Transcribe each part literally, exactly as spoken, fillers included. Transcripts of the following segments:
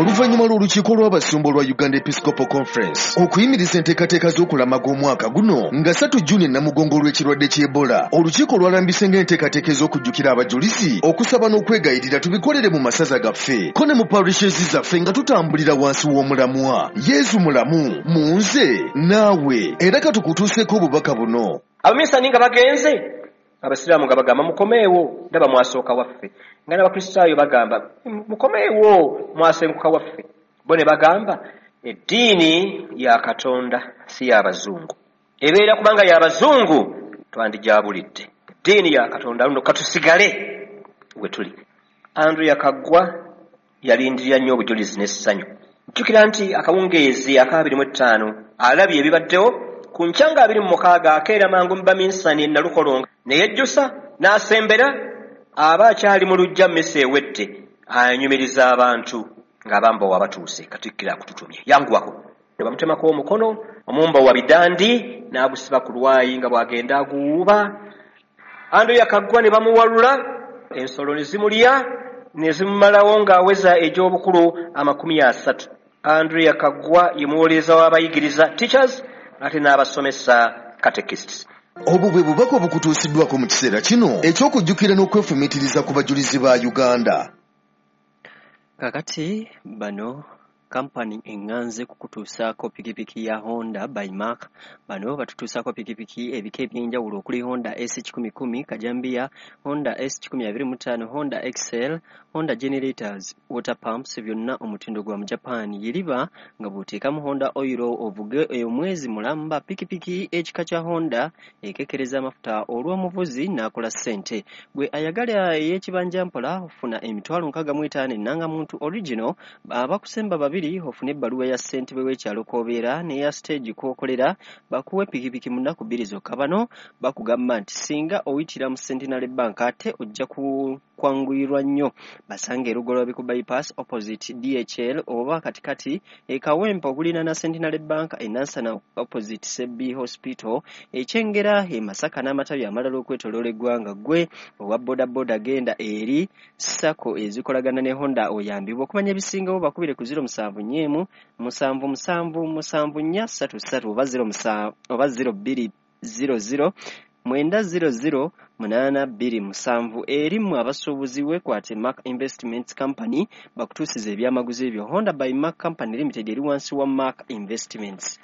Oluvannyuma lw'olukiiko lw'abasumba olwa Uganda Episcopal Conference okuyimiriza enteekateeka z'okulamaga omwaka guno nga ssatu Juni Namugongo olw'ekirwadde ky'Ebola, olukiiko lwalambise ng'enteekateeka ez'okujjukira abajulizi, okusaba n'okwegayirira tubikolere mu masaza gaffe ko ne mu parishes zaffe nga tutambulira wansi w'omulamwa Yezu mulamu mu nze naawe. Era katukutuuseeko obubaka buno. Abaminsani nga bagenze, abasiraamu nga bagamba mukomeewo, ndaba mwasooka waffe. Nga n'abakristaayo bagamba mukomeewo, mwasenguka waffe. Bo ne bagamba eddiini ya Katonda si y'abazungu, ebeera kubanga y'abazungu twandigyabulidde. Eddiini ya Katonda luno katusigale we tuli. Andrea Kaggwa yalindirira nnyo obujulizi n'essanyu. Jjukira nti akawungeezi aka abiri mu ttaano alabye ebibaddewo ku nkya nga abiri mu mukaaga akeera mangu mu baminsani e Nalukolongo ne yejjusa n'asembera aba akyali mu luggya mmisa ewedde anyumiriza abantu ng'abambowa batuuse. Katikkiro akututumye yanguwako. Ne bamutemako omukono, omumbowa bidandi n'agusiba ku lwayi nga bw'agenda aguwuuba. Andrea Kaggwa ne bamuwalula, ensolo ne zimulya ne zimumalawo ng'aweza egy'obukulu amakumi asatu. Andrea Kaggwa ye muwolereza w'abayigiriza teachers ate n'abasomesa catechists. Obwo bwe bubaka obukutuusiddwako mu kiseera kino eky'okujjukira n'okwefumiitiriza ku bajulizi ba Uganda. Kakati bano kampani eŋŋanze kukutuusaako pikipiki ya Honda by Mark. Bano batutuusaako pikipiki ebika eby'enjawulo okuli Honda S kikumi kumi Kajambiya, Honda S kikumi abiri mu ttaano, Honda X L, Honda generators, water pumps, byonna omutindo gwa mu Japan. Yiriba nga bw'oteekamu Honda oil ovuge omwezi mulamba. Pikipiki ekika kya Honda ekekereza amafuta olw'omuvuzi n'akola ssente. Gwe ayagala ey'ekibanja mpola ofuna emitwalo nkaaga mu etaano ennangamuntu original, abakusemba babiri ofune ebbaluwa ya ssentebe w'ekyalo kw'obeera n'eya stage kw'okolera, bakuwe pikipiki mu nnaku bbiri zokka. Bano bakugamba nti singa oyitira mu Centenary Bank ate ojja kwanguyirwa nnyo. Basange e Lugoloobi ku bypass opposite D H L oba katikati e Kawempe okuliraana Centenary Bank, e Nansana opposite Sebbi Hospital, e Kyengera, e Masaka n'amatabi amalala okwetooloola eggwanga. Ggwe owa bodaboda genda eri SACCO ezikolagana ne Honda oyambibwe. Okumanya ebisingawo bakubire ku ziro musanvu nnya musanvu musanvu musanvu nnya ssatu ssatu oba ziro musanvu oba ziro bbiri ziro ziro mwenda ziro ziro munaana bbiri musanvu. Eri mmwe abasuubuzi weekwate Mark Investments Company bakutuusiza ebyamaguzi ebyo. Honda by Mark Company Limited eri wansi wa Mark Investments.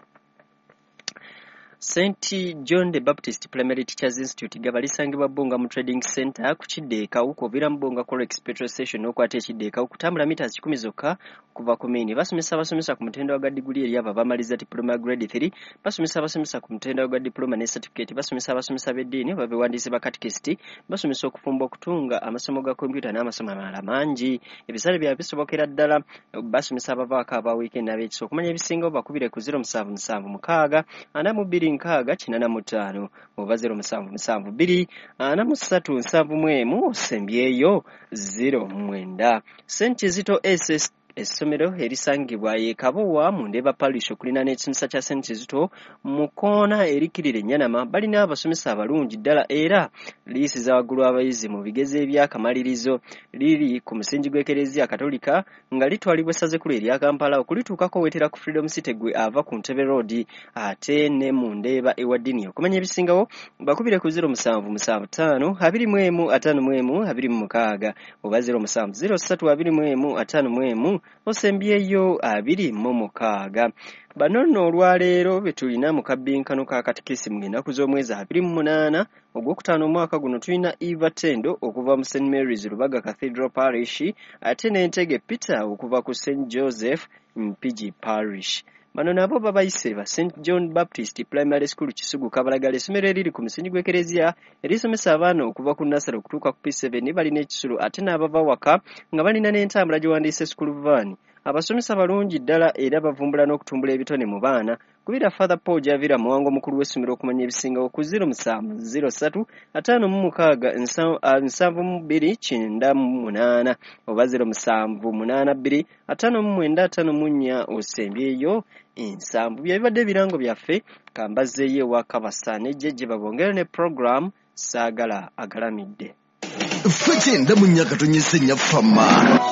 Saint John the Baptist Primary Teachers Institute gaba lisangibwa Bbunga mu Trading Center ku kidde e Kawuku, oviira mu Bbunga Corex Petrol Station n'okwata ekidde e Kawuku, kutambula mita kikumi zokka okuva ku main. Basomesa abasomesa ku mutendera gwa diguli eri abo abamaliza diploma grade three, basomesa abasomesa ku mutendera gwa diploma ne certificate, basomesa abasomesa b'eddiini oba bewandiise ba catechist, basomesa okufumba, okutunga, amasomo ga kompyuta n'amasomo amalala mangi. Ebisale byabwe bisobokera ddala. Basomesa abavaako aba weekend n'ab'ekisa. Okumanya ebisingawo bakubire ku ziro musanvu musanvu mukaaga ana mu bbiri nkaaga kinaana mu ttaano oba ziro musanvu musanvu bbiri ana mu ssatu nsanvu mu emu osembyeyo ziro mwenda. Saint Kizito S S essomero erisangibwa e Kabowa mu Ndeeba Parish okuliraana n'ekisomesa kya Saint Kizito mu kkoona erikkirira Ennyanama. Balina abasomesa abalungi ddala era liyisiza waggulu abayizi mu bigezo eby'akamalirizo. Liri ku musingi gw'Ekereziya Katolika nga litwalibwa essaza ekkulu erya Kampala. Okulituukako weetera ku Freedom City gwe ava ku Ntebe Road ate ne mu Ndeeba ewa Dini. Okumanya ebisingawo bakubire ku ziro musanvu musanvu ttaano abiri mu emu ataano mu emu abiri mu mukaaga oba ziro musanvu ziro ssatu abiri mu emu ataano mu emu osembyeyo abiri mu mukaaga. Bano nno olwaleero be tulina mu kabbinkano ka katikisimu ng'ennaku z'omwezi abiri mu munaana ogwokutaano omwaka guno. Tulina Eva Tendo okuva mu Saint Mary's Lubaga Cathedral Parish ate n'Entege Peter okuva ku Saint Joseph Mpigi Parish. Bano nabo babayise ba Saint John Baptist Primary School Kisugu Kabalagala, essomero eriri ku musingi gw'Ekereziya erisomesa abaana okuva ku nursery okutuuka ku P seven. Balina ekisulo ate n'abava waka nga balina n'entambula gyewandiise school van. Abasomesa balungi ddala era bavumbula n'okutumbula ebitone mu baana. Kubira Father Paul Javira Muwango omukulu w'essomero okumanya ebisingawo ku ziro musanvu ziro ssatu ataano mu mukaaga nsanvu mu bbiri kyenda mu munaana oba ziro musanvu munaana bbiri ataano mu mwenda ataano mu nnya osembyeyo ensanvu. Bye bibadde ebirango byaffe. Kambazzeeyo ewa Kabasa ne Jjejje babongere ne program Saagala Agalamidde. Ffe kyenda mu nnya katonyese nnya fama.